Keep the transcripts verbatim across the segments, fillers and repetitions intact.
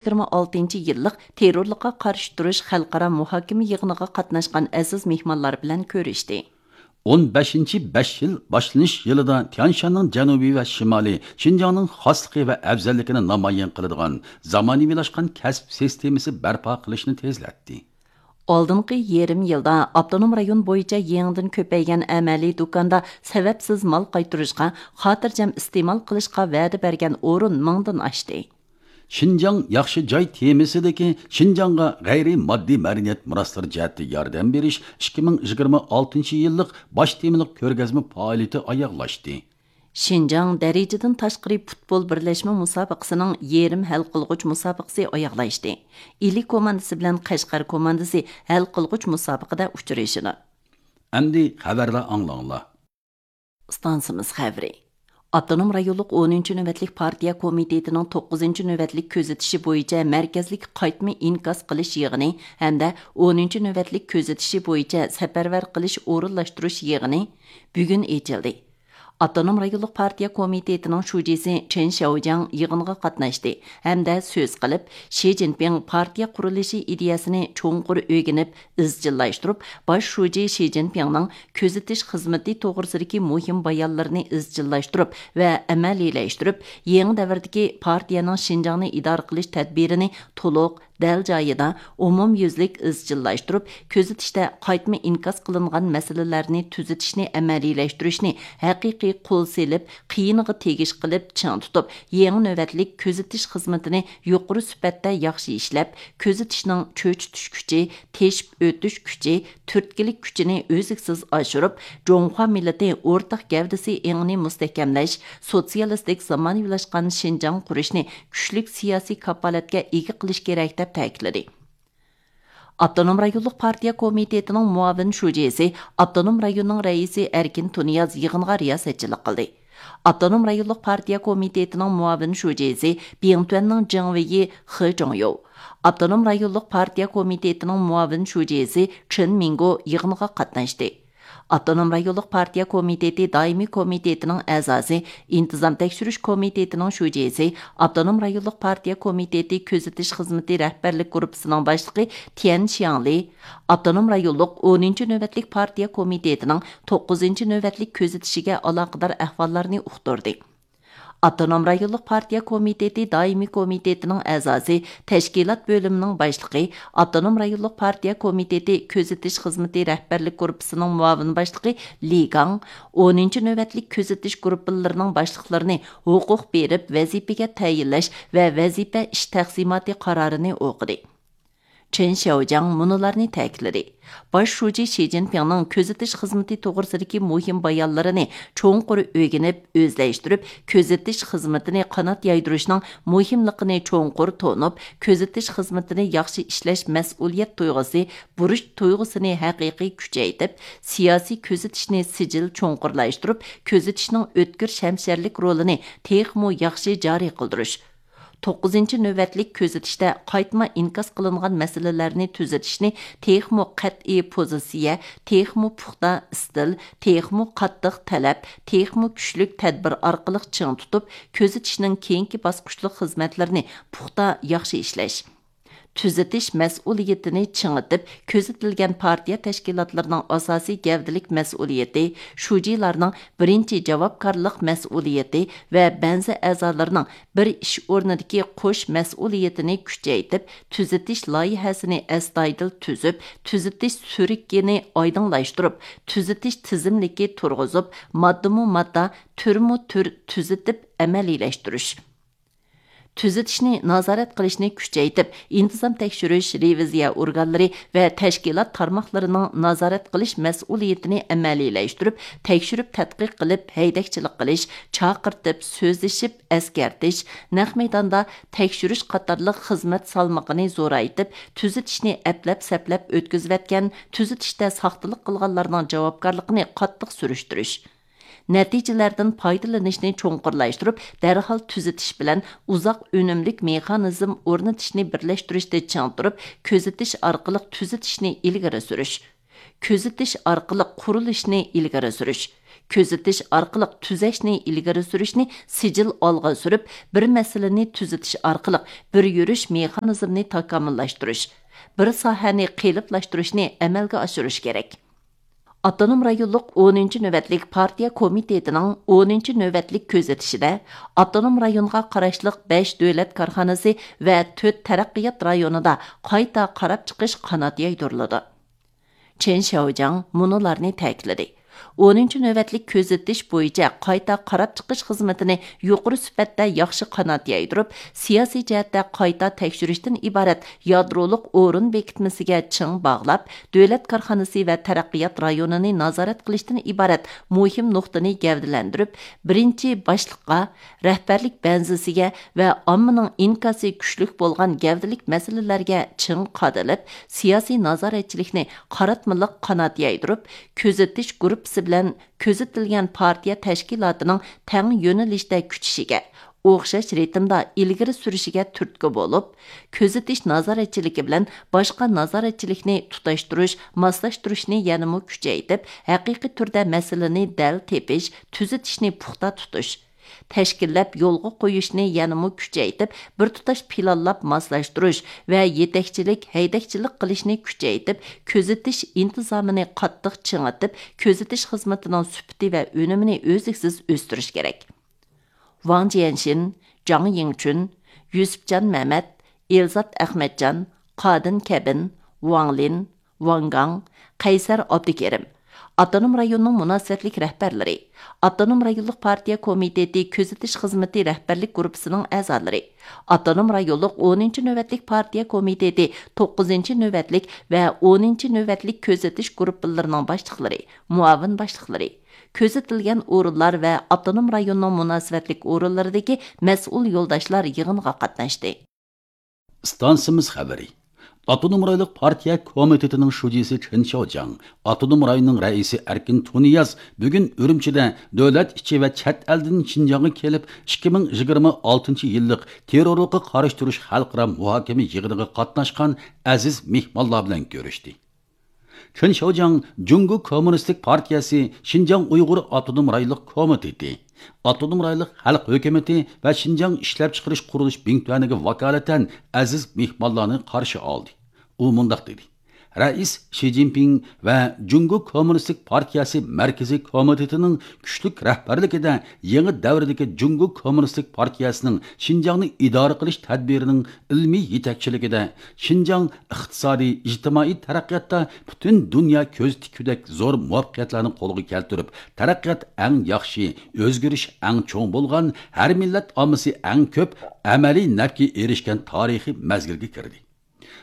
يىگىرمە ئالتىنچى يىللىق تېررورلۇققا قارشى تۇرۇش خەلقئارا مۇھاكىمە يىغىنىغا قاتناشقان ئەزىز مېھمانلار بىلەن كۆرۈشتى. ئون بەشىنچى بەش يىل باشلىنىش يىلىدا تيەنشاننىڭ جەنۇبى ۋە شىمالى، شىنجاڭنىڭ خاسلىقى ۋە ئەۋزەللىكىنى نامايان قىلىدىغان زامانىۋىلاشقان كەسىپ سىستېمىسى بەرپا قىلىشنى تېزلەتتى. ئالدىنقى يېرىم يىلدا ئاپتونوم رايون بويىچە يېڭىدىن كۆپەيگەن ئەمەلىي دۇكاندا سەۋەبسىز مال قايتۇرۇشقا، خاتىرجەم ئىستېمال قىلىشقا ۋەدە بەرگەن ئورۇن مىڭدىن ئاشتى. شىنجاڭ ياخشى جاي تېمىسىدىكى شىنجاڭغا غەيرىي ماددىي مەدەنىيەت مىراسلىرى جەھەتتە ياردەم بېرىش ئىككى مىڭ يىگىرمە ئالتىنچى يىللىق باش تېمىلىق كۆرگەزمە پائالىيىتى ئاياغلاشتى. شىنجاڭ دەرىجىدىن تاشقىرى پۇتبول بىرلەشمە مۇسابىقىسىنىڭ يېرىم ھەل قىلغۇچ مۇسابىقىسى ئاياغلاشتى. ئىلى كوماندىسى بىلەن قەشقەر كوماندىسى ھەل قىلغۇچ مۇسابىقىدە ئۇچرىشىدۇ. ئەمدى خەۋەرلەر ئاڭلاڭلار. ئىستانسىمىز خەۋىرى. ئاپتونوم رايونلۇق ئونىنچى نۆۋەتلىك پارتىيە كومىتېتىنىڭ توققۇزىنچى نۆۋەتلىك كۆزىتىشى بويىچە مەركەزلىك قايتما ئىنكاس قىلىش يىغىنى ھەمدە ئونىنچى نۆۋەتلىك كۆزىتىشى بويىچە سەپەرۋەر قىلىش ئورۇنلاشتۇرۇش يىغىنى بۈگۈن ئېچىلدى. ئاپتونوم رايونلۇق پارتىيە كومىتېتىنىڭ شۇجىسى چېن شياۋجياڭ يىغىنغا قاتناشتى ھەمدە سۆز قىلىپ، شى جىنپىڭ پارتىيە قۇرۇلۇشى ئىدىيەسىنى چوڭقۇر ئۆگىنىپ، ئىزچىللاشتۇرۇپ، باش شۇجى شى جىنپىڭنىڭ كۆزىتىش خىزمىتى توغرىسىدىكى مۇھىم بايانلىرىنى ئىزچىللاشتۇرۇپ ۋە ئەمەلىيلەشتۈرۈپ، يېڭى دەۋردىكى پارتىيەنىڭ شىنجاڭنى ئىدارە قىلىش تەدبىرىنى تولۇق، دەل جايىدا، ئومۇميۈزلۈك ئىزچىللاشتۇرۇپ، كۆزىتىشتە قايتما ئىنكاس قىلىنغان مەسىلىلەرنى تۈزىتىشنى ئەمەلىيلەشتۈرۈشنى ھەقىقىي قول سېلىپ، قىيىنىغا تېگىش قىلىپ چىڭ تۇتۇپ، يېڭى نۆۋەتلىك كۆزىتىش خىزمىتىنى يۇقىرى سۈپەتتە ياخشى ئىشلەپ، كۆزىتىشنىڭ چۆچۈتۈش كۈچى، تېشىپ ئۆتۈش كۈچى، تۈرتكىلىك كۈچىنى ئۈزلۈكسىز ئاشۇرۇپ، جۇڭخۇا مىللىتى ئورتاق گەۋدىسى ئېڭىنى مۇستەھكەملەش، سوتسىيالىستىك زامانىۋىلاشقان شىنجاڭ قۇرۇشنى كۈچلۈك سىياسىي كاپالەتكە ئىگە قىلىش كېرەك، دەپ تەكىتلىدى. ئاپتونوم رايونلۇق پارتىيە كومىتېتىنىڭ مۇئاۋىن شۇجىسى، ئاپتونوم رايوننىڭ رەئىسى ئەركىن تۇنىياز يىغىنغا رىياسەتچىلىك قىلدى. ئاپتونوم رايونلۇق پارتىيە كومىتېتىنىڭ مۇئاۋىن شۇجىسى، بىڭتۈەننىڭ جېڭۋېيى خې جۇڭيو، ئاپتونوم رايونلۇق پارتىيە كومىتېتىنىڭ مۇئاۋىن شۇجىسى چېن مىڭگو يىغىنغا قاتناشتى. ئاپتونوم رايونلۇق پارتىيە كومىتېتى دائىمىي كومىتېتىنىڭ ئەزاسى، ئىنتىزام تەكشۈرۈش كومىتېتىنىڭ شۇجىسى، ئاپتونوم رايونلۇق پارتىيە كومىتېتى كۆزىتىش خىزمىتى رەھبەرلىك گۇرۇپپىسىنىڭ باشلىقى تيەن شياڭلى، ئاپتونوم رايونلۇق ئونىنچى نۆۋەتلىك پارتىيە كومىتېتىنىڭ توققۇزىنچى نۆۋەتلىك كۆزىتىشىگە ئالاقىدار ئەھۋاللارنى ئۇقتۇردى. ئاپتونوم رايونلۇق پارتىيە كومىتېتى دائىمىي كومىتېتىنىڭ ئەزاسى، تەشكىلات بۆلۈمىنىڭ باشلىقى، ئاپتونوم رايونلۇق پارتىيە كومىتېتى كۆزىتىش خىزمىتى رەھبەرلىك گۇرۇپپىسىنىڭ مۇئاۋىن باشلىقى لى گاڭ، ئونىنچى نۆۋەتلىك كۆزىتىش گۇرۇپپىلىرىنىڭ باشلىقلىرىنى ھوقۇق بېرىپ ۋەزىپىگە تەيىنلەش ۋە ۋەزىپە ئىش تەقسىماتى قارارىنى ئوقۇدى. چېن شياۋجياڭ مۇنۇلارنى تەكىتلىدى: باش شۇجى شى جىنپىڭنىڭ كۆزىتىش خىزمىتى توغرىسىدىكى مۇھىم بايانلىرىنى چوڭقۇر ئۆگىنىپ، ئۆزلەشتۈرۈپ، كۆزىتىش خىزمىتىنى قانات يايدۇرۇشنىڭ مۇھىملىقىنى چوڭقۇر تونۇپ، كۆزىتىش خىزمىتىنى ياخشى ئىشلەش مەسئۇلىيەت تۇيغۇسى، بۇرچ تۇيغۇسىنى ھەقىقىي كۈچەيتىپ، سىياسىي كۆزىتىشنى سىجىل چوڭقۇرلاشتۇرۇپ، كۆزىتىشنىڭ ئۆتكۈر شەمشەرلىك رولىنى تېخىمۇ ياخشى جارى قىلدۇرۇش، توققۇزىنچى نۆۋەتلىك كۆزىتىشتە قايتما ئىنكاس قىلىنغان مەسىلىلەرنى تۈزىتىشنى تېخىمۇ قەتئىي پوزىتسىيە، تېخىمۇ پۇختا ئىستىل، تېخىمۇ قاتتىق تەلەپ، تېخىمۇ كۈچلۈك تەدبىر ئارقىلىق چىڭ تۇتۇپ، كۆزىتىشنىڭ كېيىنكى باسقۇچلۇق خىزمەتلىرىنى پۇختا ياخشى ئىشلەش. تۈزىتىش مەسئۇلىيىتىنى چىڭىتىپ، كۆزىتىلگەن پارتىيە تەشكىلاتلىرىنىڭ ئاساسىي گەۋدىلىك مەسئۇلىيىتى، شۇجىلارنىڭ بىرىنچى جاۋابكارلىق مەسئۇلىيىتى ۋە بەنزى ئەزالىرىنىڭ بىر ئىش ئورنىدىكى قوش مەسئۇلىيىتىنى كۈچەيتىپ، تۈزىتىش لايىھەسىنى ئەستايىدىل تۈزۈپ، تۈزىتىش سۈرۈكىنى ئايدىڭلاشتۇرۇپ، تۈزىتىش تىزىملىكى تۇرغۇزۇپ، ماددىمۇ ماددا، تۈرمۇ تۈر تۈزىتىپ ئەمەلىيلەشتۈرۈش. تۈزىتىشنى نازارەت قىلىشنى كۈچەيتىپ، ئىنتىزام تەكشۈرۈش، رېۋىزىيە ئورگانلىرى ۋە تەشكىلات تارماقلىرىنىڭ نازارەت قىلىش مەسئۇلىيىتىنى ئەمەلىيلەشتۈرۈپ، تەكشۈرۈپ تەتقىق قىلىپ ھەيدەكچىلىك قىلىش، چاقىرتىپ سۆزلىشىپ ئەسكەرتىش، نەق مەيداندا تەكشۈرۈش قاتارلىق خىزمەت سالمىقىنى زورايتىپ، تۈزىتىشنى ئەپلەپ-سەپلەپ ئۆتكۈزۈۋەتكەن، تۈزىتىشتە ساختىلىق قىلغانلارنىڭ جاۋابكارلىقىنى قاتتىق سۈرۈشتۈرۈش. نەتىجىلەردىن پايدىلىنىشنى چوڭقۇرلاشتۇرۇپ، دەرھال تۈزىتىش بىلەن ئۇزاق ئۈنۈملۈك مېخانىزم ئورنىتىشنى بىرلەشتۈرۈشتە چىڭ تۇرۇپ، كۆزىتىش ئارقىلىق تۈزىتىشنى ئىلگىرى سۈرۈش. كۆزىتىش ئارقىلىق قۇرۇلۇشنى ئىلگىرى سۈرۈش. كۆزىتىش ئارقىلىق تۈزەشنى ئىلگىرى سۈرۈشنى سىجىل ئالغا سۈرۈپ، بىر مەسىلىنى تۈزىتىش ئارقىلىق بىر يۈرۈش مېخانىزمنى تاكامۇللاشتۇرۇش، بىر ساھەنى قېلىپلاشتۇرۇشنى ئەمەلگە ئاشۇرۇش كېرەك. ئاپتونوم رايونلۇق ئونىنچى نۆۋەتلىك پارتىيە كومىتېتىنىڭ ئونىنچى نۆۋەتلىك كۆزىتىشىدە ئاپتونوم رايونغا قاراشلىق بەش دۆلەت كارخانىسى ۋە تۆت تەرەققىيات رايونىدا قايتا قاراپ چىقىش قانات يايدۇرۇلىدۇ. چېن شياۋجياڭ مۇنۇلارنى تەكىتلىدى: ئونىنچى نۆۋەتلىك كۆزىتىش بويىچە قايتا قاراپ چىقىش خىزمىتىنى يۇقىرى سۈپەتتە ياخشى قانات يايدۇرۇپ، سىياسىي جەھەتتە قايتا تەكشۈرۈشتىن ئىبارەت يادرولۇق ئورۇن بېكىتمىسىگە چىڭ باغلاپ، دۆلەت كارخانىسى ۋە تەرەققىيات رايونىنى نازارەت قىلىشتىن ئىبارەت مۇھىم نۇقتىنى گەۋدىلەندۈرۈپ، بىرىنچى باشلىققا، رەھبەرلىك بەنزىسىگە ۋە ئاممىنىڭ ئىنكاسى كۈچلۈك بولغان گەۋدىلىك مەسىلىلەرگە چىڭ قادىلىپ، سىياسىي نازارەتچىلىكنى قاراتمىلىق قانات يايدۇرۇپ، كۆزىتىش گۇرۇپپىسى بىلەن كۆزىتىلگەن پارتىيە تەشكىلاتىنىڭ تەڭ يۆنىلىشتە كۈچىشىگە، ئوخشاش رىتىمدا ئىلگىرى سۈرۈشىگە تۈرتكە بولۇپ، كۆزىتىش نازارەتچىلىكى بىلەن باشقا نازارەتچىلىكنى تۇتاشتۇرۇش، ماسلاشتۇرۇشنى يەنىمۇ كۈچەيتىپ، ھەقىقىي تۈردە مەسىلىنى دەل تېپىش، تۈزىتىشنى پۇختا تۇتۇش، تەشكىللەپ يولغا قويۇشنى يەنىمۇ كۈچەيتىپ، بىر تۇتاش پىلانلاپ ماسلاشتۇرۇش ۋە يېتەكچىلىك، ھەيدەكچىلىك قىلىشنى كۈچەيتىپ، كۆزىتىش ئىنتىزامىنى قاتتىق چىڭىتىپ، كۆزىتىش خىزمىتىنىڭ سۈپىتى ۋە ئۈنۈمىنى ئۈزلۈكسىز ئۆستۈرۈش كېرەك. ۋاڭ جيەنشىن، جاڭ يىڭچۈن، يۈسۈپجان مەمەت، ئېلزات ئەخمەتجان، قادىن كەبىن، ۋاڭ لىن، ۋاڭ گاڭ، قەيسەر ئابدۇكېرىم، ئاپتونوم رايوننىڭ مۇناسىۋەتلىك رەھبەرلىرى، ئاپتونوم رايونلۇق پارتىيە كومىتېتى كۆزىتىش خىزمىتى رەھبەرلىك گۇرۇپپىسىنىڭ ئەزالىرى، ئاپتونوم رايونلۇق ئونىنچى نۆۋەتلىك پارتىيە كومىتېتى توققۇزىنچى نۆۋەتلىك ۋە ئونىنچى نۆۋەتلىك كۆزىتىش گۇرۇپپىلىرىنىڭ باشلىقلىرى، مۇئاۋىن باشلىقلىرى، كۆزىتىلگەن ئورۇنلار ۋە ئاپتونوم رايوننىڭ مۇناسىۋەتلىك ئورۇنلىرىدىكى مەسئۇل يولداشلار يىغىنغا قاتناشتى. ئىستانسىمىز خەۋىرى. ئاپتونوم رايونلۇق پارتىيە كومىتېتىنىڭ شۇجىسى چېن شياۋجياڭ، ئاپتونوم رايوننىڭ رەئىسى ئەركىن تۇنىياز بۈگۈن ئۈرۈمچىدە دۆلەت ئىچى ۋە چەت ئەلدىن شىنجاڭغا كېلىپ، ئىككى مىڭ يىگىرمە ئالتىنچى يىللىق تېررورلۇققا قارشى تۇرۇش خەلقئارا مۇھاكىمە يىغىنىغا قاتناشقان ئەزىز مېھمانلار بىلەن كۆرۈشتى. چېن شياۋجياڭ جۇڭگو كوممۇنىستىك پارتىيەسى شىنجاڭ ئۇيغۇر ئاپتونوم رايونلۇق كومىتېتى، ئاپتونوم رايونلۇق خەلق ھۆكۈمىتى ۋە شىنجاڭ ئىشلەپچىقىرىش قۇرۇلۇش بىڭتۈەنىگە ۋاكالىتەن ئەزىز مېھمانلارنى قارشى ئالدى. ئۇ مۇنداق دېدى: رەئىس شى جىنپىڭ ۋە جۇڭگو كوممۇنىستىك پارتىيەسى مەركىزىي كومىتېتىنىڭ كۈچلۈك رەھبەرلىكىدە يېڭى دەۋردىكى جۇڭگو كوممۇنىستىك پارتىيەسىنىڭ شىنجاڭنى ئىدارە قىلىش تەدبىرىنىڭ ئىلمىي يېتەكچىلىكىدە شىنجاڭ ئىقتىسادىي، ئىجتىمائىي تەرەققىياتتا پۈتۈن دۇنيا كۆز تىككۈدەك زور مۇۋەپپەقىيەتلەرنى قولغا كەلتۈرۈپ، تەرەققىيات ئەڭ ياخشى، ئۆزگىرىش ئەڭ چوڭ بولغان، ھەر مىللەت ئاممىسى ئەڭ كۆپ ئەمەلىي نەپكە ئېرىشكەن تارىخىي مەزگىلگە كىردى.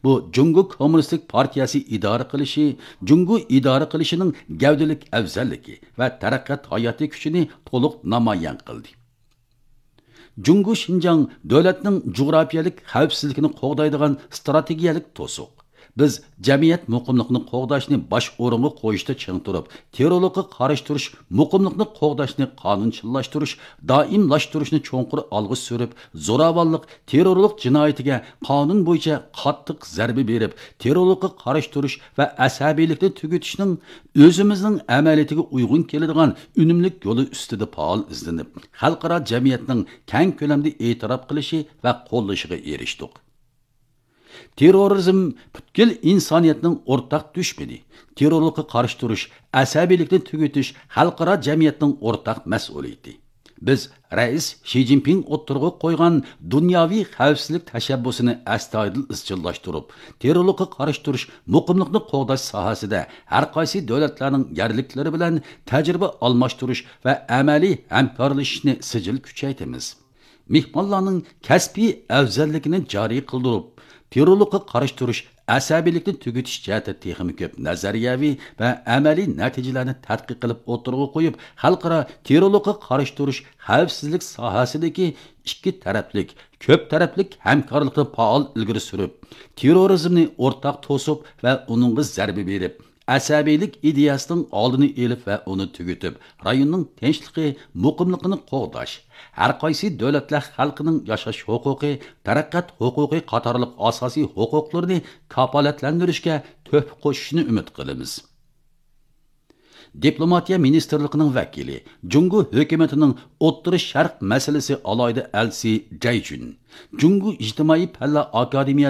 بۇ جۇڭگو كوممۇنىستىك پارتىيەسى ئىدارە قىلىشى، جۇڭگو ئىدارە قىلىشىنىڭ گەۋدىلىك ئەۋزەللىكى ۋە تەرەققىيات ھاياتىي كۈچىنى تولۇق نامايان قىلدى. جۇڭگو شىنجاڭ دۆلەتنىڭ جۇغراپىيەلىك خەۋپسىزلىكىنى قوغدايدىغان ئىستراتېگىيەلىك توسۇق. بىز جەمئىيەت مۇقىملىقىنى قوغداشنى باش ئورۇنغا قويۇشتا چىڭ تۇرۇپ، تېررورلۇققا قارشى تۇرۇش، مۇقىملىقنى قوغداشنى قانۇنچىللاشتۇرۇش، دائىملاشتۇرۇشنى چوڭقۇر ئالغا سۈرۈپ، زوراۋانلىق، تېررورلۇق جىنايىتىگە قانۇن بويىچە قاتتىق زەربە بېرىپ، تېررورلۇققا قارشى تۇرۇش ۋە ئەسەبىيلىكنى تۈگىتىشنىڭ ئۆزىمىزنىڭ ئەمەلىيىتىگە ئۇيغۇن كېلىدىغان ئۈنۈملۈك يولى ئۈستىدە پائال ئىزدىنىپ، خەلقئارا جەمئىيەتنىڭ كەڭ كۆلەمدە ئېتىراپ قىلىشى ۋە قوللىشىغا ئېرىشتۇق. تېررورىزم پۈتكۈل ئىنسانىيەتنىڭ ئورتاق دۈشمىنى. تېررورلۇققا قارشى تۇرۇش، ئەسەبىيلىكنى تۈگىتىش خەلقئارا جەمئىيەتنىڭ ئورتاق مەسئۇلىيىتى. بىز رەئىس شى جىنپىڭ ئوتتۇرىغا قويغان دۇنياۋى خەۋپسىزلىك تەشەببۇسىنى ئەستايىدىل ئىزچىللاشتۇرۇپ، تېررورلۇققا قارشى تۇرۇش، مۇقىملىقنى قوغداش ساھەسىدە ھەر قايسى دۆلەتلەرنىڭ يەرلىكلىرى بىلەن تەجرىبە ئالماشتۇرۇش ۋە ئەمەلىي ھەمكارلىشىشنى سىجىل كۈچەيتىمىز. مېھمانلارنىڭ كەسپىي ئەۋزەللىكىنى جارى قىلدۇرۇپ، تېررورلۇققا قارشى تۇرۇش، ئەسەبىيلىكنى تۈگىتىش جەھەتتە تېخىمۇ كۆپ نەزەرىيەۋى ۋە ئەمەلىي نەتىجىلەرنى تەتقىق قىلىپ ئوتتۇرىغا قويۇپ، خەلقئارا تېررورلۇققا قارشى تۇرۇش خەۋپسىزلىك ساھەسىدىكى ئىككى تەرەپلىك، كۆپ تەرەپلىك ھەمكارلىقنى پائال ئىلگىرى سۈرۈپ، تېررورىزمنى ئورتاق توسۇپ ۋە ئۇنىڭغا زەربە بېرىپ، ئەسەبىيلىك ئىدىيەسىنىڭ ئالدىنى ئېلىپ ۋە ئۇنى تۈگىتىپ، رايوننىڭ تىنچلىقى، مۇقىملىقىنى قوغداش، ھەر قايسى دۆلەتلەر خەلقىنىڭ ياشاش ھوقۇقى، تەرەققىيات ھوقۇقى قاتارلىق ئاساسىي ھوقۇقلىرىنى كاپالەتلەندۈرۈشكە تۆھپە قوشۇشىنى ئۈمىد قىلىمىز. دىپلوماتىيە مىنىستىرلىقىنىڭ ۋەكىلى، جۇڭگو ھۆكۈمىتىنىڭ ئوتتۇرا شەرق مەسىلىسى ئالاھىدە ئەلچىسى جەي جۈن، جۇڭگو ئىجتىمائىي پەنلەر ئاكادېمىيە